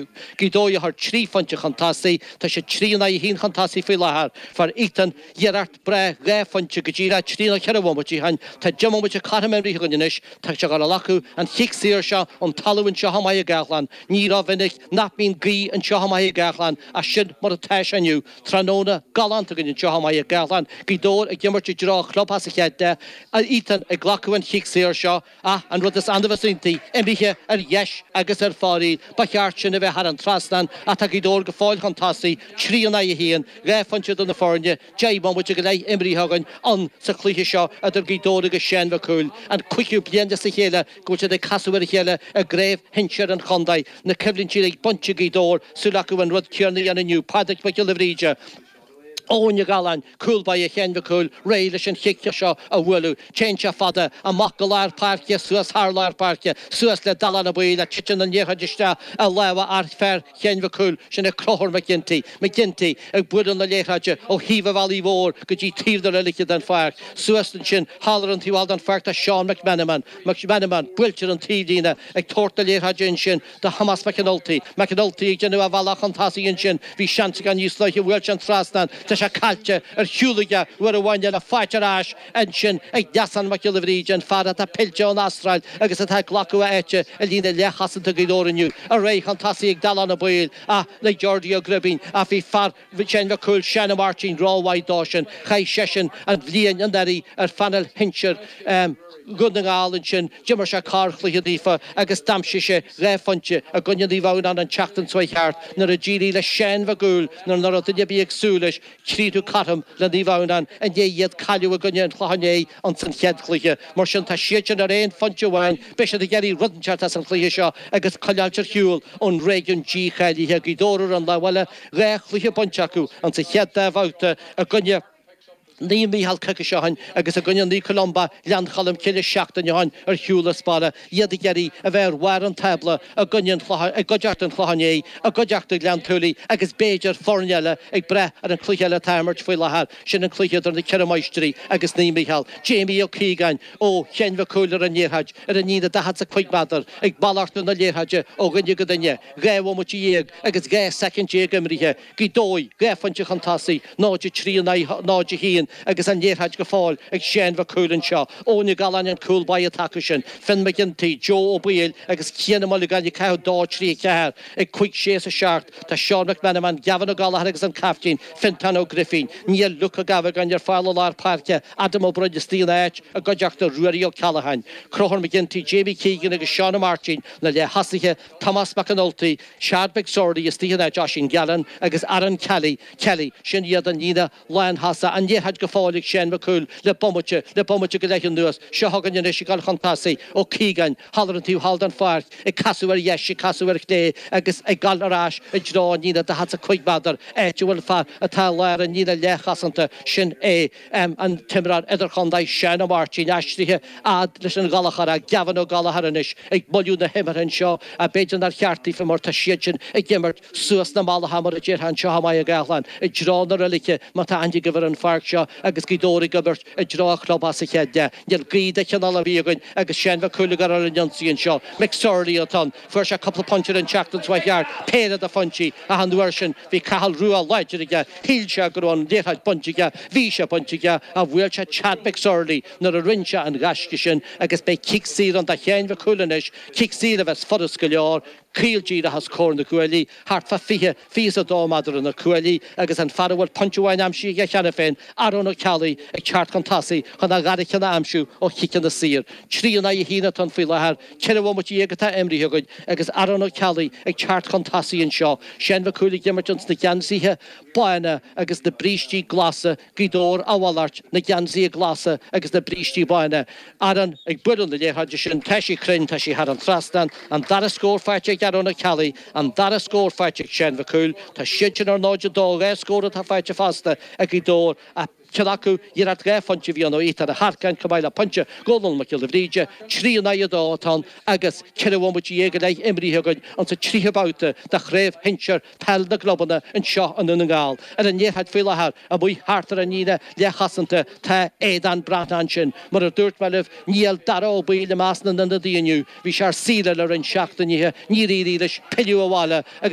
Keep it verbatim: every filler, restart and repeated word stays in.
Gaoth Dobhair a chuir trí phointe chun tosaigh, tá siad trí in aghaidh a haon chun tosaigh faoi láthair. Fuair Ethan iarracht breá dhá phointe go díreach trí nó ceithre bhomaite ó shin. Tá deich mbomaite cothrom imeartha againn anois. Tá sé ag dul a ghlacadh an chic saor seo ón talamh anseo i mBaile Ghallchláin. Ní rómhinic nach mbíonn gaoth anseo i mBaile Ghallchláin ach sin mar atá sé inniu. Tráthnóna galánta againn anseo i mBaile Ghallchláin. Gaoth Dobhair ag imirt i dtreo an chlubtheach sa chéad leath. Ethan ag glacadh an chic saor seo ach an rud is annamh is iontaí, imithe ar dheis agus ar fóraoil. Ba cheart sin a bheith thar an trasnán ach tá Gaoth Dobhair go fóill chun tosaigh, trí in aghaidh a haon, dhá phointe idir na foirne, deich mbomaite go leith imrithe againn ann sa chluiche seo idir Gaoth Dobhair agus Seán Mhic Cumhaill. An cúigiú bliain as a chéile go bhfuil siad ag casadh ar a chéile i gcraobh shinsir an chontae. Na coimhlintí uilig bainte ag Gaoth Dobhair, súil acu an rud céanna a dhéanamh inniu. Pádraig Mac Giolla Bhríde. Eoin Ó Galláin, cúl báire Sheáin Mhic Cumhaill, réidh leis an chic seo a bhualadh. Téann sé fada, amach go lár páirce, suas thar lár páirce, suas le Dalán Ó Baoill ach titeann an liathróid isteach i lámha fear Sheáin Mhic Cumhaill, sin é Conchúr McGinty. McGinty ag bualadh na liathróide ó thaobh an bhealaigh mhóir go dtí taobh na reilige den pháirc. Suas ansin thall ar an taobh thall den pháirc tá Seán McMenamin. McMenamin buailte ar an taobhlíne ag tabhairt na liathróide ansin do Thomás McAnulty. McAnulty ag déanamh a bhealach chun tosaigh ansin. Bhí seans aige níos luaithe, bhuail sé an trasnán. Tá sé caillte ar shiúl aige uair amháin eile, faighte ar ais ansin ag Neasán Mac Giolla Bhríde, an fear atá pillte ón Astráil agus atá ag glacadh a áite i líne leathchosanta Ghaoth Dobhair inniu. Ar aghaidh chun tosaigh ag Dalán Ó Baoill ach le Geordie Ó Gribín ach bhí fear Sheáin Mhic Cumhaill, Seán Ó Máirtín, rómhaith dó sin. Chaith seisean an bhliain anuraidh ar phainéal shinsir Dhún na nGall ansin. D'imir sé corrchluiche daofa agus d'aimsigh sé dhá phointe i gcoinne Naomh Adhamhnáin an tseachtain seo chuaigh thart nuair a d'éirigh le Seán Mhic Cumhaill nuair nach raibh duine ar bith ag súil leis críochnú cothrom le Naomh Adhamhnáin i ndiaidh iad cailleadh i gcoinne an Chlocháin Léith ins an chéad chluiche. Mar sin tá siad sin ar aon phointe amháin. Beidh siad ag iarraidh rud inteacht as an chluiche seo agus coinneáilt ar shiúl ón réigiún dícháilithe. Gaoth Dobhair ar an lámh eile, dhá chluiche bainte acu ins an chéad dá bhabhta i gcoinne Naomh Mícheál coicís ó shin agus i gcoinne Naomh Columba, Gleann Cholm Cille seachtain ó shin ar shiúl as baile, iad ag iarraidh a bheith ar bharr an tábla i gcoinne an Chlocháin, i gcuideachta an Chlocháin Léith, i gcuideachta Ghleann tSúilí agus b'fhéidir foirne eile ag brath ar an chluiche eile atá á imirt faoi láthair, sin an cluiche idir na Ceithre Máistrí agus Naomh Mícheál. Jamie Ó Cíogáin ó Sheáin Mhic Cumhaill ar an liathróid ar an líne daichead 's a cúig méadar ag malartú na liathróide ó dhuine go duine, dhá bhomaite dhéag agus dhá soicind déag imrithe. Gaoth Dobhair, dhá phointe chun tosaigh, náid a trí in aghaidh náid a haon agus an liathróid go fóill ag Seán Mhic Cumhaill anseo. Eoin Ó Galláin an cúl báire atá acu sin. Finn McGinty, Joe Ó Baoill agus Cian Ó Muilleagáin ag caitheamh dó, trí, ceathair. Ag cúig, sé is a seacht tá Seán McMenamin, Gavin Ó Gallchóir agus an caiftín, Fintán Ó Grifín. Níl Luke Ó Gabhagáin ar fáil i lár páirce, Adam Ó Broin istigh ina áit i gcuideachta Ruairí Ó Ceallacháin. Conchúr McGinty, Jamie Keegan agus Seán Ó Máirtín na leath-thosaithe, Tomás McAnulty, Chad McSorley istigh in áit Oisín Gallen agus Aaron Kelly, Kelly, sin iad an líne lánthosach, an liathróid go fóill ag Seán Mac Cumhaill le bomaite, le bomaite go leith anuas. Seo chugainn anois ag dul chun tosaigh, Ó Cíogáin, thall ar an taobh thall den pháirc, ag casadh ar dheis, ag casadh ar chlé agus ag dul ar ais i dtreo an líne daichead 's a cúig méadar, áit a bhfuil fear atá i lár an líne leathchosanta, sin é an t-imreoir idirchontae Seán Ó Máirtín, aistrithe fhad leis an Ghallchóireach, Gavin Ó Gallchóir anois ag moilliú na himeartha anseo ach b'fhéidir nár cheart daofa mar tá siad sin ag imirt suas na mallacha mar a déarfá anseo i mBaile Ghallchláin i dtreo na reilige má tá aithne agaibh ar an pháirc seo agus Gaoth Dobhair ag imirt i dtreo an chlubtheach sa chéad leath. Níl gaoth de chineál ar bith againn agus Seán Mhic Cumhaill ag dul ar an ionsaí anseo. McSorley atá ann. Fuair sé cúpla pointe ar an tseachtain seo chuaigh thart, péire de phointí ach an uair sin bhí Cathal Rua láidir aige, shíl sé go raibh an liathróid bainte aige, bhí sé bainte aige ach bhuail sé Chad McSorley nuair a rinne sé an ghaisce sin agus beidh cic saor ann do Sheáin Mhic Cumhaill anois, cic saor a bheas furast go leor, caol díreach os comhair na gcuaillí, thart fá fiche, fiche is a dó méadar ó na cuaillí agus an fear a bhfuil pointe amháin aimsithe aige cheana féin, Aaron Ó Ceallaigh, ag teacht chun tosaigh chun a dhara ceann a aimsiú ó chiceanna saor. Trí in aghaidh a haon atá ann faoi láthair, ceithre bhomaite dhéag atá imrithe againn agus Aaron Ó Ceallaigh ag teacht chun tosaigh anseo. Seán Mhic Cumhaill ag imirt ins na geansaithe bána agus na brístí glasa, Gaoth Dobhair a mhalairt, na geansaithe glasa agus na brístí bána. Aaron ag bualadh na liathróide sin, tá sí cruinn, tá sí thar an trasnán. An dara scór faighte ag Aaron Ó Ceallaigh, an dara scór faighte ag Seán Mhic Cumhaill. Tá siad sin ar náid a dó, dhá scór atá faighte fosta ag Gaoth Dobhair ach. Ceann acu, iarracht dhá phointe a bhí ann ó Ethan Ó hEarcáin chomh maith le pointe ó Dhónal Mac Giolla Bhríde, trí in aghaidh a dó atá ann agus ceithre bhomaite dhéag go leith imrithe againn insa tríú babhta de Chraobh Shinsir Peil na gClubanna anseo i nDún na nGall. Ar an liathróid faoi láthair, amuigh thart ar an líne leathchosanta, tá Aodán Breathnach ansin. Mar a dúirt mé libh, níl Dara Ó Baoill i measc na n-ionadaithe inniu. Bhí sé ar saoire le roinnt seachtainí, níor éirigh leis pilleadh abhaile agus.